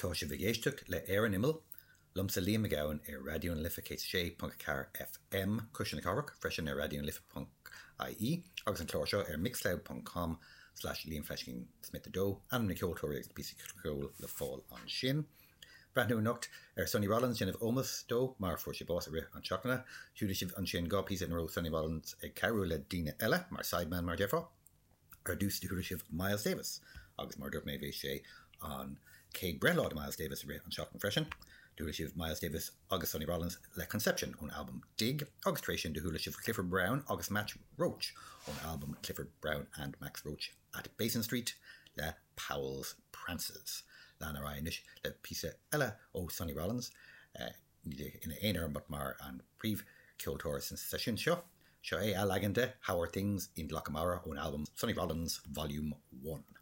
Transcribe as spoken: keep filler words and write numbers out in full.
Tá sibh ag éisteacht le Ar an Imeall, liomsa Liam Mac Gabhann ar Raidió na Life céad sé ponc ceathair FM Cuisle na Cathrach, freisin ar Raidió na Life ponc IE agus an clár seo ar mixcloud ponc com slash Liam Fleiscín Smith a dó, ainm na ceoltóirí agus na píosaí ceoil le fáil ansin. Breathnú anocht ar Sonny Rollins déanamh ómós dó mar fuair sé bás i rith an seachtaine. Chuala sibh ansin dhá píosa ina raibh Sonny Rollins ag cabhrú le daoine eile mar sideman mar déarfá. Ar dtús do chuala sibh Miles Davis agus mar dúirt mé bhí sé an céad breithlá de Miles Davis i rith an seachtain freisin. Do chuala sibh Miles Davis agus Sonny Rollins le Conception ón albam Dig agus tar éis sin do chuala sibh Clifford Brown agus Max Roach ón albam Clifford Brown and Max Roach at Basin Street le Powell's Prances. Lean ar aghaidh anois le píosa eile ó Sonny Rollins eh, ina aonar but mar an príomhcheoltóir san seisiún seo. Seo é a leagan de How Are Things in Lockamara ón albam Sonny Rollins Volume One.